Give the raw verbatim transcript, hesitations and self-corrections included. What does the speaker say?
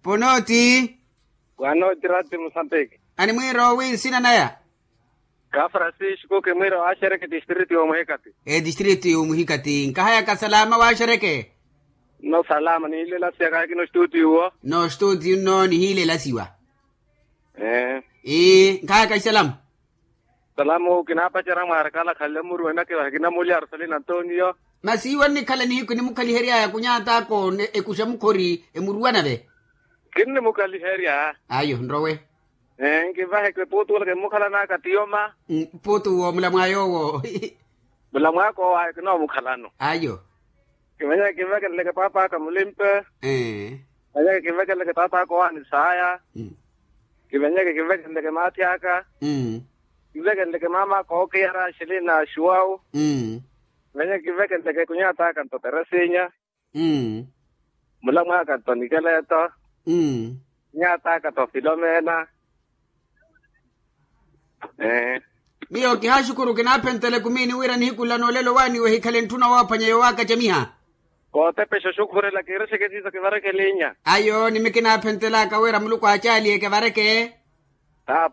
Onoti. Wanoti rati musambiki. Animwiro wi nsina naya? Ka francisco kimwiro axereke distrito yomuhikati. Etistrito yomuhikati nkahayaka salama waxereke. No salama nihilela siya kahikino studio wo. No studio nno nihilela siwa. Ii nkahayaka isalama. Salamo kinapacerya mwaari kala khalle muru enake vahe kinamulya arsalina antonio. Masi iwe nnikhala nihiku nimukhaliheryaya kunyatako ekuxa mukhori emuruwa nave. Kinnimukhaliherya. Ayo nrowe. Nkivaheke puutu wala kimmukhalanaka tiyoma. Puutu wo mulamwaya owo. Mulamwaka owo ayo kinoomukhalano. Ayo. Kivenyeke kivekeleleke paap'aka mulimpe. Kivenyeke kivekeleleke taat'aka owaani saaya. Kivenyeke kivekeleleke maathi aka. Kivekeleleke maam'aka ookiyara axilina axuwawu. Kivenyeke kivekeleleke kunyat'aka nto teresinya. Mulamwaka nto nikeleto. Kunyat'aka nto filomena. Miyo kihaxukuru kinaaphenttela ekumini wira nihiku nla noolelo waaniwe hikhale ntthuna woophwanya yowaakacamiha. Kootepexa oxukhurela kiirixeke siiso kivareke elinya. Ayo nimi kinaaphenttelaaka wira muluku aacaaliye kivareke. Tapu.